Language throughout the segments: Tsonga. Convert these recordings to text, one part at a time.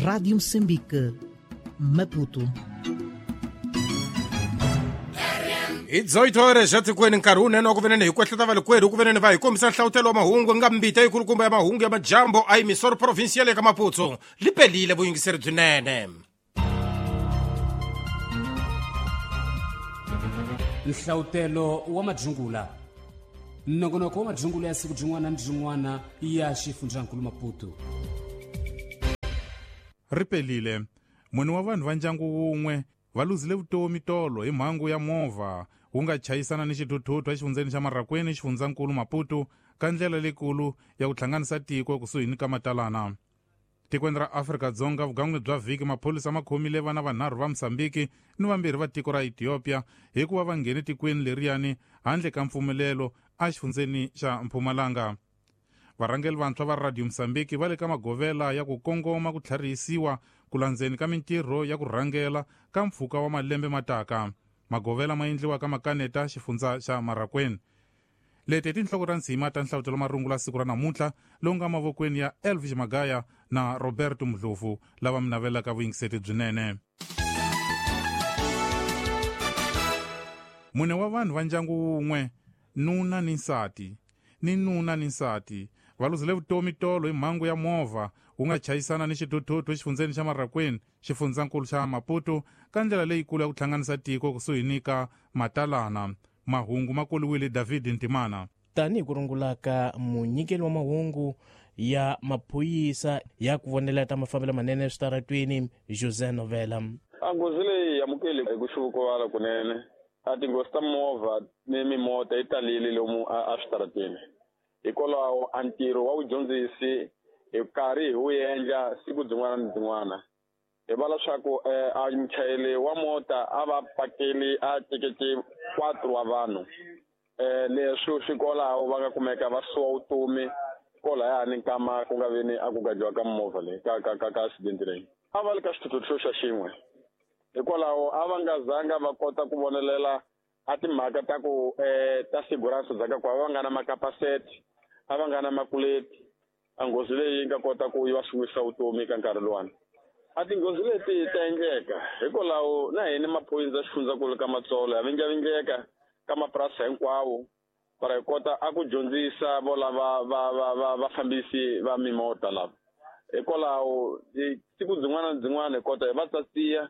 Rádio Moçambique, Maputo. Hi 18 horas xa tikweni nkarhi wunene wa ku venene hi kwehleta valikwerhu ku venene va hi kombisa nhlavutelo wa mahungu nga mbita yikulukumba ya mahungu ya majambo a yimisoro provinsial eka Maputo li pelile vuyingiseri byinene. Nhlavutelo wa majungula, nongonoko wa majungula ya siku byin'wana ni byin'wana ya xifundzankulu Maputo. Ri pelile mune wa vanhu va ndyangu wun'we va luzile vutomi tolo hi mhangu ya movha wu nga chayisana ni xithuthuthu exifundzeni xa Marracuene, xifundzankulu Maputo, ka ndlela leyikulu ya ku hlanganisa tiko kusuhi ni ka Matalana. Tikweni ra Afrika-Dzonga, vugangwini bya vhiki maphorisa ma khomile vana vanharhu va Mozambique ni vambirhi va tiko ra Ethiopia hikuva va nghene tikweni leriyani handle ka mpfumelelo exifundzeni xa Mpumalanga. Varhangeri vantshwa va Radio Mozambique va le ka magovela ya ku kongoma ku tlharihisiwa ku landzeni ka mintirho ya ku rhangela ka mpfhuka wa malembe mataka. Magovela ma endliwa ka makaneta xifundza xa Marracuene. Leti i tinhloko ta ntshima ta nhlavutelo marungula siku ra namuntlha lowu nga mavokweni ya Elvis Magaya na Roberto Mdlovu lava mi navelaka vuyingiseti byinene. Mune wa vanhu va ndyangu wun'we, nuna ni nsati, ni nuna ni nsati va luzile vutomi tolo hi mhangu ya movha wu nga chayisana ni xithuthuthu exifundzeni xa Marracuene, xifundzankulu xa Maputo, ka ndlela leyikulu ya ku hlanganisa tiko kusuhi ni ka Matalana. Mahungu ma koliwile David Ntimana. Tanihi ku rungula ka munyikeli wa mahungu ya maphorisa ya ku vonela ta mafambelo manene eswitaratweni José Novela. A nghozi leyi amukeli hi ku xuvukuvala kunene. A tinghozi ta movha ni mimota yi talile lomu a switarateni. Hikwalaho a ntirho wa vudyondzisi hi karhi hi wu endla siku byin'wana ni byin'wana. Hi va leswaku a muchayeri wa mota a va pakeli a tekete 4 wa vanhu. Leswi swi kwalaho va nga kumeka va suwa vutomi kwalayani nkama ku nga veni a ku gajiwa ka movha leyi ka accident leyi. A va le ka xithuthuthu xa xin'we. Hikwalaho a va nga zanga va kota ku vonelela a timhaka ta ku ta sigurance bya ka ku a va nga na makapaseti, a va nga na makuleti. A nghozi leyi yi nga kota ku yi va suwisa vutomi ka nkarhi luwani. A tinghozi leti ta endleka hikwalaho na hina maphorisa xifundzankulu ka Matsolo ya vingavingleka ka mapurasi hinkwawo para hi kota a ku dyondzisa vo lava va vafambisi va mimota lava. Hikwalaho siku byin'wana na byin'wana hi kota hi va tsatsiya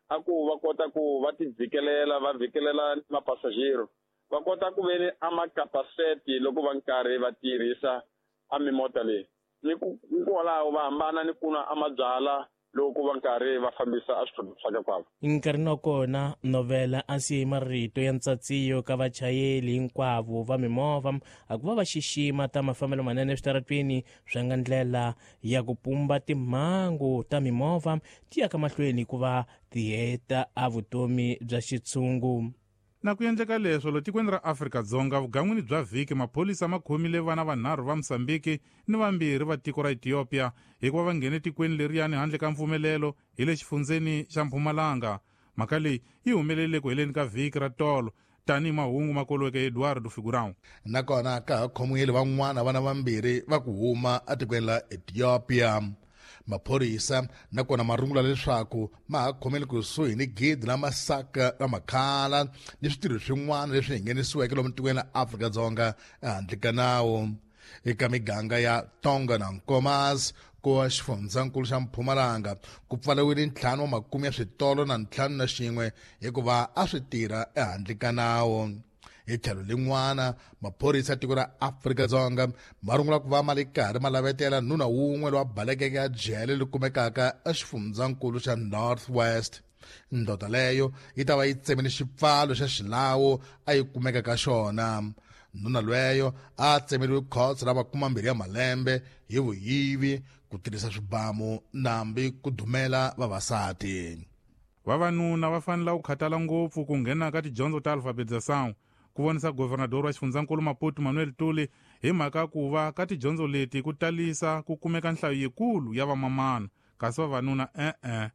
a ku va kota ku va ti vhikelela, va vhikelela mapasajero, va kota ku veni a makapaseti loko va nkarhi va tirhisa a mimota leyi. Ni ku kwalaho va hambana ni ku nwa a mabyala loko va nkarhi va fambisa a swithuthuthu swa ka kwavo. Nkarhini wa kona Novela a siye marito ya ntsatsiyo ka vachayeri hinkwavo va mimovha a ku va va xixima ta mafambelo manene eswitaratweni swa nga ndlela ya ku pumba timhangu ta mimovha ti ya ka mahlweni ku va ti heta a vutomi bya xitshungu. Na ku endleka leswo lo tikweni ra Afrika-Dzonga vugangwini bya vhiki maphorisa ma khomile vana vanharhu va Mozambique ni vambirhi va tiko ra Ethiopia hikuva va nghene tikweni leriyani handle ka mpfumelelo hi le xifundzeni xa Mpumalanga. Mhaka leyi yi humelele ku heleni ka vhiki ra tolo tanihi mahungu ma koliweke Eduardo Figurão. Nakona ka ha khomiwile van'wana vana vambirhi va ku huma etikweni la Ethiopia. Maphorisa nakona ma rungula leswaku ma ha khomele kusuhi ni gidi la masaka la makhala ni switirho swin'wana leswi nghenisiweke lomu tikweni la Afrika-Dzonga ehandle ka nawu. Eka miganga ya Tonga na Nkomas ku xifundzankulu xa Mpumalanga ku pfariwile 5 wa makume ya switolo na 51 hikuva a swi tirha ehandle ka nawu. Hi tlhelo lin'wana maphorisa ya tiko ra Afrika-Dzonga ma rungula ku va ma le karhi ma lavetela nuna wun'we loyi a balekeke a jele leri kumekaka exifundzankulu xa North West. Ndoda leyo yi ta va yi tsemile xipfalo xa xilawu a yi kumeka ka xona. Nuna lweyo a tsemeriwe khotso ra 20 ya malembe hi vuyivi, ku tirhisa swibamu nambi ku dumela vavasati. Vavanuna va fanele ku khathala ngopfu ku nghena ka tidyondzo ta alfabetização, ku vonisa governador wa xifundzankulu Maputo Manuel Tuli hi mhaka ku va ka tidyondzo leti ku talisa ku kumeka nhlayo yikulu ya vamamana, kasi vavanuna e-e.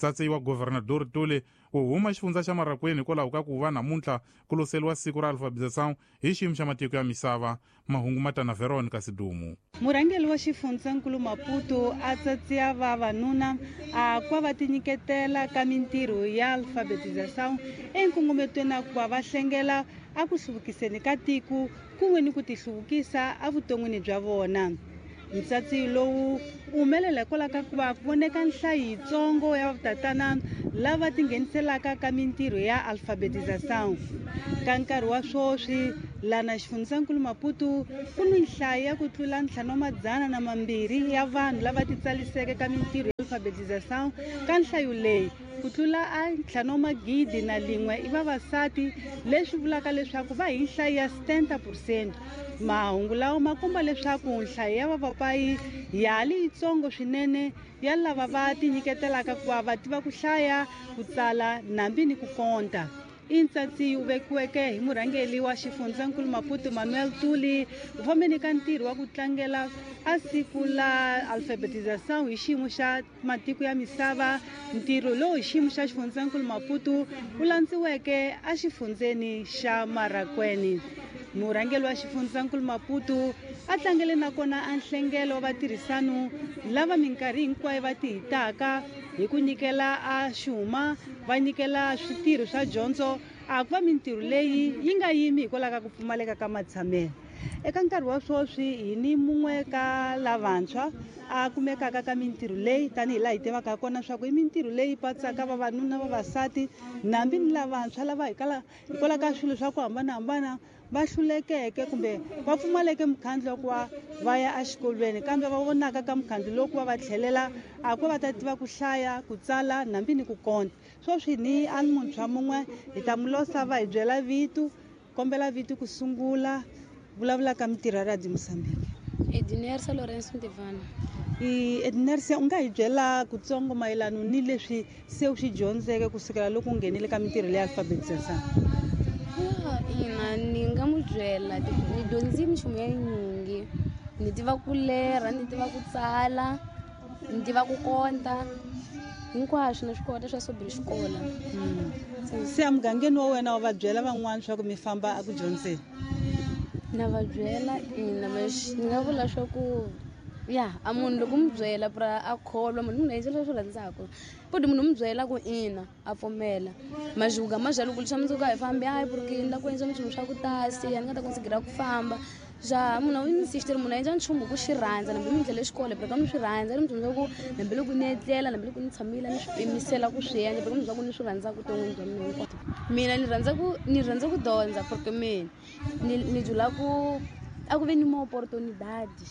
Tsatsi wa Governador Tuli u huma xifundza xa Marracuene hikwalaho ka ku va namuntlha ku loseriwa siku ra alfabetização hi xiyimo xa matiko ya misava. Mahungu ma ta na Veronica Sidumu. Murhangeri wa xifundzankulu Maputo a tsatsiya vavanuna a ku va va tinyiketela ka mintirho ya alfabetização enkongometweni a ku va va hlengela a ku hluvukiseni ka tiko kun'we ni ku tihluvukisa evuton'wini bya vona. Ntsatsi lowu wu humelela hikwalaho ka ku va ku voneka nhlayo yitsongo ya vatatana lava tingheniselaka ka mintirho ya alfabetização. Ka nkarhi wa swoswi lana xifundzankulu Maputo ku ni nhlayo ya ku tlula 502 ya vanhu lava titsaliseke ka mintirho ya alfabetização. Ka nhlayo leyi ku tlula a 5,001 i vavasati, leswi vulaka leswaku va hi nhlayo ya 70%. Mahungu lawa ma komba leswaku nhlayo ya vavapayi ya ha li yitsongo swinene ya lava va tinyiketelaka ku va va tiva ku hlaya, ku tsala nambi ni ku konta. I ntsatsi wu vekiweke hi murhangeri wa xifundzankulu Maputo Manuel Tuli u fambeni ka ntirho wa ku tlangela a siku la alfabetização hi xiyimo xa matiko ya misava. Ntirho lowu hi xiyimo xa xifundzankulu Maputo wu landziweke exifundzeni xa Marracuene. Murhangeri wa xifundzankulu Maputo a tlangele nakona a nhlengelo wa vatirhisano lava minkarhi hinkwayo va tihitaka hi ku nyikela a xuma, va nyikela switirho swa dyondzo, a ku va mintirho leyi yi nga yimi hikwalaho ka ku pfumaleka ka matshamelo. Eka nkarhi wa swoswi hi ni mun'we ka lavantshwa a kumekaka ka mintirho leyi, tanihi laha hi tivaka kona swa ku i mintirho leyi patsaka vavanuna, vavasati nambi ni lavantshwa lava hikwalaho ka swilo swa ku hambanahambana va hlulekeke kumbe va pfumaleke mukhandlu wa ku va va ya exikolweni, kambe va vonaka ka mukhandlu lowu ku va va tlhelela a ku va ta tiva ku hlaya, ku tsala nambi ni ku konta. Swoswi ni a ni muntshwa mun'we hi ta mu losa va hi byela vito, kombela vito ku sungula vulavula ka mintirho ya Radio Mozambique. Ednersa Lawrence Ntivana. Ednersa, u nga hi byela kutsongo mayelana ni leswi se u swi dyondzeke kusukela loko u nghenile ka mintirho leya alfabetização? Ina, ni nga mu byela ni dyondzi minchumu ya yinyingi, ni tiva ku lerha, ni tiva ku tsala, ni tiva ku konta, hinkwaswo na swi kota swa sobre xikola. Se emugangeni wa wena wa va byela van'wana swa ku mi famba a ku dyondzeni? Na va byela ina, ni nga vula swa ku ya a munhu loko mu byela pra a kholwa, munhu munhu endla leswi rhandzaka, futhi munhu mu byela ku ina a pfumela. Majuga majalo ku leswa mundzuku a hi fambi, hayi porque ni la ku endla minchumu swa ku tasi, a ni nga ta considera ku famba. Ja munhu a insistir, munhu a endla nchumu ku xi rhandza, nambi mi ndlela xikolo porque ni swi rhandza, ni munhu ku nambi loko ni etlela, nambi loko ni tshamile ni swi pimisela ku swi endla, porque munhu ku ni swi rhandza ku ton'wini bya mina hinkwato. Mina ni rhandza ku dyondza porque mina ni jula ku a ku ve ni mo opportunidade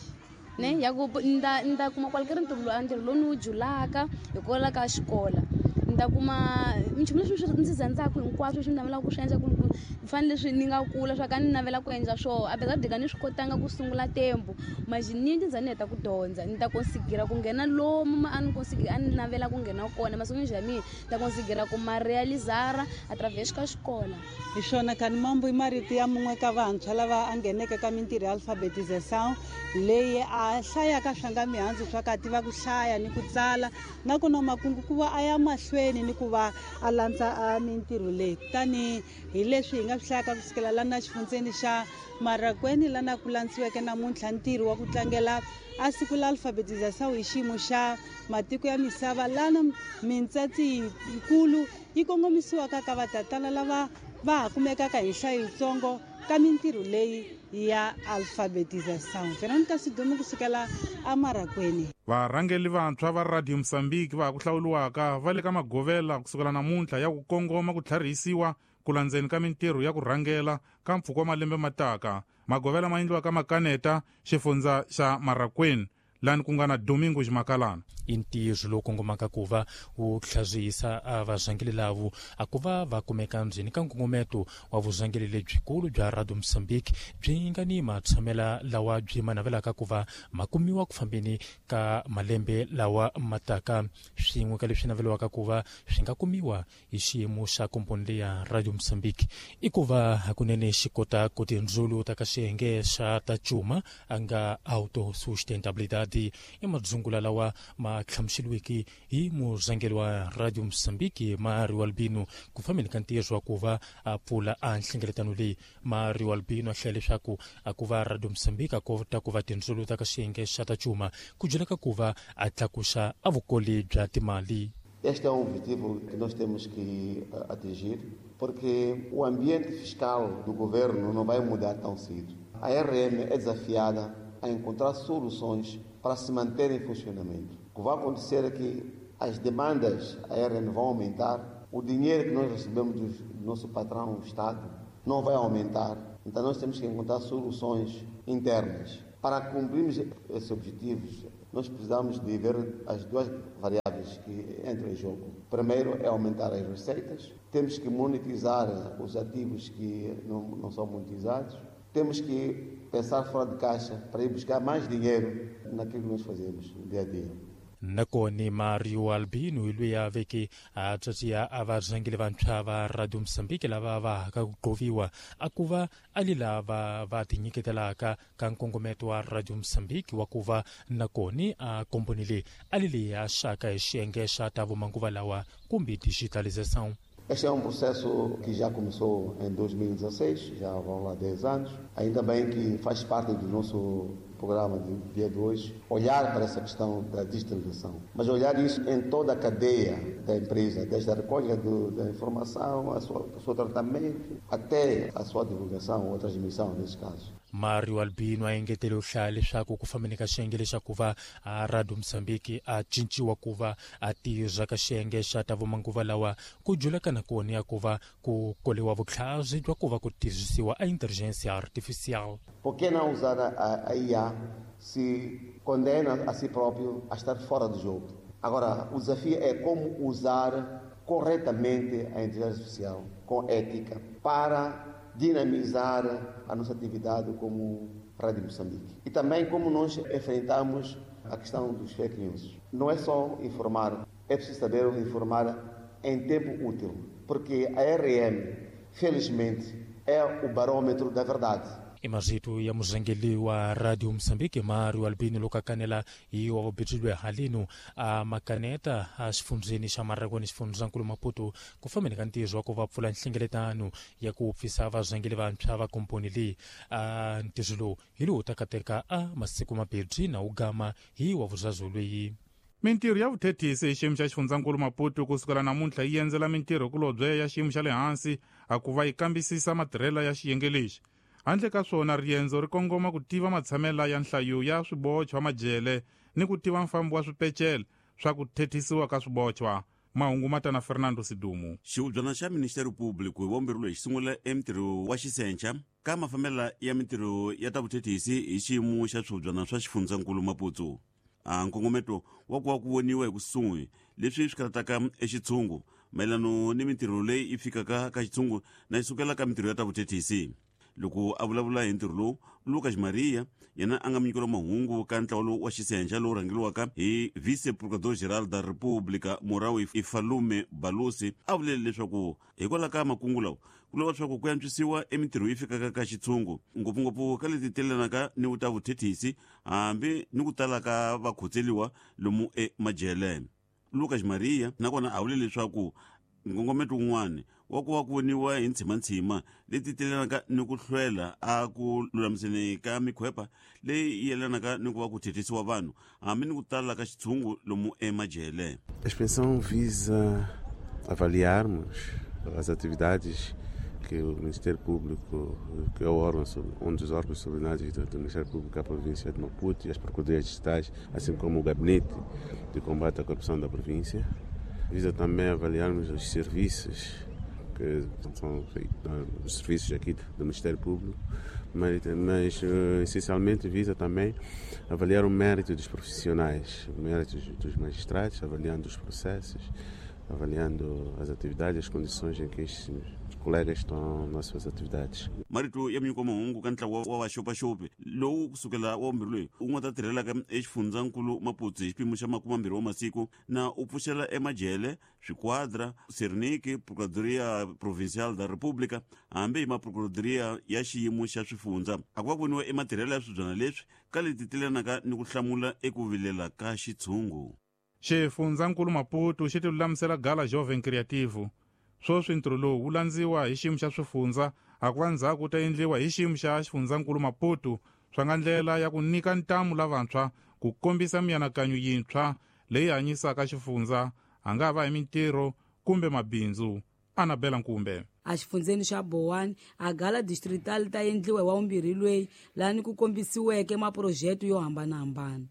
ne ya ku nda kuma qualquer ntirho lowu ni wu julaka hikwalaho ka xikola, ni ta kuma minchumu leswi ndzi rhandzaka hinkwaswo leswi ni navelaka ku swi endla, ku fanele leswi ni nga kula swa ka ni navela ku endla swona, apesar de ka ni swi kotanga ku sungula tempo, mas ni ndzi ni heta ku dyondza ni ta considera ku nghena lomu a ni considera a ni navela ku nghena kona mason'wini ya mina, ta considera ku ma realizara através ka xikola. Hi swona kani mambo i marito ya mun'we ka vantshwa lava a ngheneke ka mintirho ya alfabetização leyi a hlayaka swa nga mihandzu swa ka tiva ku hlaya ni ku tsala, nakona makungu ku va a ya mahlweni ni ku va a landza a mintirho leyi. Kutani hi leswi hi nga swi hlayaka kusukela lana xifundzeni xa Marracuene, lana ku landziweke namuntlha ntirho wa ku tlangela a siku la alfabetização hi xiyimo xa matiko ya misava, lana mintsatsi yikulu yi kongomisiwaka ka vatatana lava va ha kumekaka hi nhlayo yitsongo ka mintirho leyi ya alfabetização. Veronica Sidumo kusukela eMarracuene. Varhangeri vantshwa va Radio Mozambique va ha ku hlawuriwaka va le ka magovela kusukela namuntlha ya ku kongoma ku tlharihisiwa ku landzeni ka mintirho ya ku rhangela ka mpfhuka wa malembe mataka. Magovela ma endliwa ka Makaneta, xifundza xa Marracuene, lani ku nga na Domingo Ximakalana. I ntirho lowu kongomaka ku va wu tlhazisa a vazhangeli lavo a ku va va kumeka ndzeni ka nkongometo wa vuzhangeli lebyikulu bya Radio Mozambique byi nga ni matshamela lawa byi ma navelaka ku va ma kumiwa ku fambeni ka malembe lawa mataka, swin'we ka leswi naveliwaka ku va swi nga kumiwa hi xiyimo xa komponi leya Radio Mozambique i ku va hakunene xi kota ku tindzulu ta ka xiyenge xa ta cuma a nga autosustentabilidade. Xisati. I madzungula lawa ma hlamuseriweke hi murhangeri wa Radio Mozambique Mario Albino ku fambeni ka ntirho wa ku va a pfula a nhlengeletano leyi. Mario Albino a hlaya leswaku a ku va Radio Mozambique a kota ku va tindzulu ta ka xiyenge xa ta cuma ku byela ka ku va a tlakusa a vukoli bya timali. Este é um objetivo que nós temos que atingir, porque o ambiente fiscal do governo não vai mudar tão cedo. A RM é desafiada a encontrar soluções para se manter em funcionamento. O que vai acontecer é que as demandas à RM vão aumentar, o dinheiro que nós recebemos do nosso patrão, o Estado, não vai aumentar. Então nós temos que encontrar soluções internas. Para cumprirmos esses objetivos, nós precisamos de ver as duas variáveis que entram em jogo. Primeiro é aumentar as receitas, temos que monetizar os ativos que não são monetizados, temos que pensar fora de caixa para ir buscar mais dinheiro naquilo que nós fazemos no dia a dia. Nakoni Mario Albino hi loyi a veke a tswatsiya a varhangeri vantshwa va Radio Mozambique lava va haka ku qoviwa a ku va a li lava va tinyiketelaka ka nkongometo wa Radio Mozambique wa ku va nakoni a komboni leyi a li leyi a xaka hi xiyenge xa ta vumanguva lawa kumbe digitalização. Este é um processo que já começou em 2016, já vão lá 10 anos. Ainda bem que faz parte do nosso programa de dia de hoje, olhar para essa questão da digitalização. Mas olhar isso em toda a cadeia da empresa, desde a recolha da informação, o seu tratamento, até a sua divulgação ou transmissão, nesse caso. Mario Albino a engetele u hlaya leswaku ku fambeni ka xiyenge lexaku va a Radio Mozambique a cinciwa ku va a tirha ka xiyenge xa ta vumanguva lawa ku juleka na kona ya ku va ku koliwa vutlhari bya ku va ku tirhisiwa a inteligência artificial. Por que não usar a IA se condena a si próprio a estar fora do jogo? Agora, o desafio é como usar corretamente a inteligência artificial, com ética, para dinamizar a nossa atividade como Rádio Moçambique. E também como nós enfrentamos a questão dos fake news. Não é só informar, é preciso saber informar em tempo útil, porque a RM, felizmente, é o barômetro da verdade. I marito ya murhangeri wa Radio Mozambique Mario Albino loko a kanela hi wa vubirilo halino a makaneta a xifundzeni xa Maragoni xifundzankulu Maputo ku fambeni ka ntirho wa ku va pfula nhlengeletano ya ku pfisa varhangeri vantshwa va komponi leyi. A ntirho lowu hi lowu ta kateka a masiku mambirhi na wu gama hi wa vuzazu leyi. Mintirho ya vuthethisi hi xiyimo xa xifundzankulu Maputo kusukela namuntlha yi endzela mintirho kulobye ya xiyimo xa le hansi a ku va yi kambisisa matirhelo ya xiyenge lexi. Handle ka swona riendzo ri kongoma ku tiva matshamela ya nhlayo ya swibochwa majele ni ku tiva mfambo wa swipecele swa ku thethisiwa ka swibochwa. Mahungu matana Fernando Sidumu. Xihubyana xa Ministério Público hi vombirilo hi sungula emintirho wa xisenca ka mafambela ya mintirho ya ta vuthethisi hi xiyimo xa swihubyana swa xifundzankulu Maputo. A nkongometo wa ku va ku voniwa hi kusuhi leswi swi karataka exitshungu mayelano ni mintirho leyi yi fikaka ka xitshungu na yi sukela ka mintirho ya ta vuthethisi. Loko a vulavula hi ntirho lowu, Lucas Maria yena a nga munyikelo mahungu ka ntlawa lowu wa xisenxa lowu rhangeriwaka hi vice-procurador-geral da República Morawu Ifalume Balusi a vulele leswaku hikwalaho ka makungu lawa ku lava leswaku ku antswisiwa emintirho yi fikaka ka xitshungu ngopfungopfu ka leti telelanaka ni ta vuthethisi hambi ni ku tala ka vakhotseliwa lomu emajele. Lucas Maria nakona a vule leswaku nkongometo wun'wana wa ku va ku voniwa hi ntshimantshima leti telelanaka ni ku hlwela a ku lulamiseni ka mikhwepa leyi yelanaka ni ku va ku thethisiwa vanhu hambi ni ku tala ka xitshungu lomu emajele. A inspeção visa avaliarmos as atividades que o Ministério Público, que é o órgão, um dos órgãos subordinados do Ministério Público à província de Maputo e as procuradorias distritais, assim como o Gabinete de Combate à Corrupção da província. Visa também avaliarmos os serviços que são feitos, os serviços aqui do Ministério Público, mas essencialmente visa também avaliar o mérito dos profissionais, o mérito dos magistrados, avaliando os processos, avaliando as atividades, as condições em que estes colegas estão nas suas atividades. Marito ya minyiko mahungu ka ntlawa wa vaxopaxopi lowu kusukela wa vumbirhi loyi wu nga ta tirhelaka exifundzankulu Maputo hi xipimo xa 20 wa masiku na u pfuxela emajele swikwadra Serniki Procuradoria Provincial da República hambi hi maprocuradoria ya xiyimo xa swifundza a ku va voniwa ematirhelo ya swibyana leswi ka leti tilanaka ni ku hlamula eku vilela ka xitshungu. Xifundzankulu Maputo xi tilulamisela gala Jovem Criativo. Sweswi ntirho lowu wu landziwa hi xiyimo xa swifundza a ku va ndzhaku wu ta endliwa hi xiyimo xa xifundzankulu Maputo swa nga ndlela ya ku nyika ntamu lavantshwa ku kombisa mianakanyo yintshwa leyi hanyisaka xifundza a nga va hi mintirho kumbe mabindzu. Anabela Nkumbe. Exifundzeni xa Bowani a gala distrital ta endliwa hi wa vumbirhi lweyi lani ku kombisiweke maphurojete yo hambanahambana.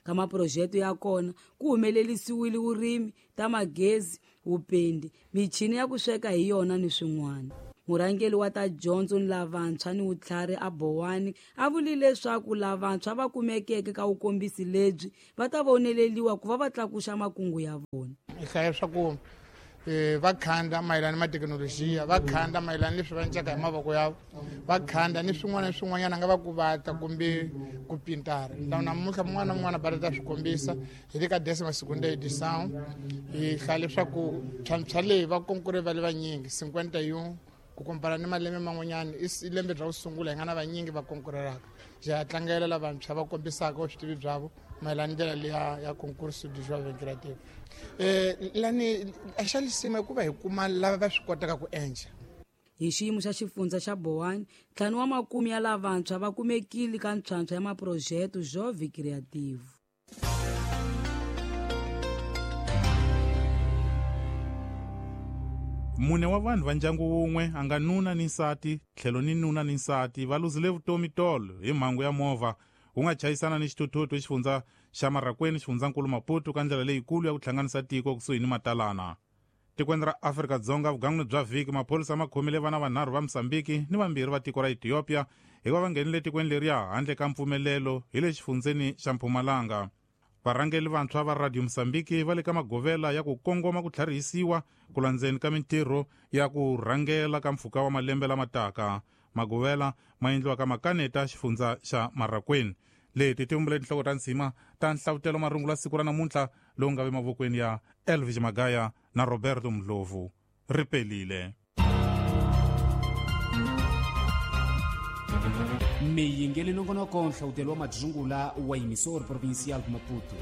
Ka maphurojete ya kona ku humelerisiwile vurimi, ta magezi, vupendi, michini ya ku sweka hi yona ni swin'wana. Murhangeri wa ta dyondzo ni lavantshwa ni vutlhari a Bowani a vule leswaku lavantshwa va kumekeke ka vukombisi lebyi va ta voneleriwa ku va va tlakuxa makungu ya vona. Hi hlaya swa ku va khanda mayelana na thekinolojiya, va khanda mayelana leswi va endlaka hi mavoko ya va khanda ni swin'wana na swin'wanyana nga va ku vata kumbe ku pintara. Namuntlha mun'wana na mun'wana va ta swi kombisa hi le ka décima segunda edição. Hi hlaya leswaku tlhantlha leyi va konkure va le vanyingi 51 ku kompara ni malembe man'wanyana i lembe bya ku sungula hi nga na vanyingi va konkurelaka. Ja tlangela lavantshwa va kombisaka vutivi bya vo mayelana ndlela leya ya concurso de jovem creativo. Lani a xa lisima hikuva hi kuma lava va swi kotaka ku endla. Hi xiyimo xa xifundza xa Bowani, 50 wa makume ya lavantshwa va kumekile ka ntlhantlha ya maphurojete Jovem Creativo. Mune wa vanhu va ndyangu wun'we a nga nuna ni nsati tlhelo ni nuna ni nsati va luzile vutomi tolo hi mhangu ya movha wu nga chayisana ni xithuthuthu xifundza xa Marracuene xifundzankulu Maputo ka ndlela leyikulu ya ku hlanganisa tiko kusuhi ni Matalana. Tikweni ra Afrika-Dzonga vugangwini bya vhiki maphorisa ma khomile vana vanharhu va Mozambique ni vambirhi va tiko ra Ethiopia hikuva va nghenile tikweni leriya handle ka mpfumelelo hi le xifundzeni xa Mpumalanga. Varhangeli vantshwa va Radio Mozambique va le ka magovela ya ku kongoma ku tlharihisiwa ku landzeni ka mintirho ya ku rhangela ka mpfhuka wa malembe lama taka. Magovela ma endliwa ka makaneta xifundza xa Marracuene. Leti ti vumbile tinhloko ta nsima ta nhlavutelo marungula siku ra namuntlha lowu nga ve mavokweni ya Elvis Magaya na Roberto Mdlovu. Ri pelile. Miyingeli nongonoko nhlavutelo wa madzungula wa Emissora Provincial de Maputo.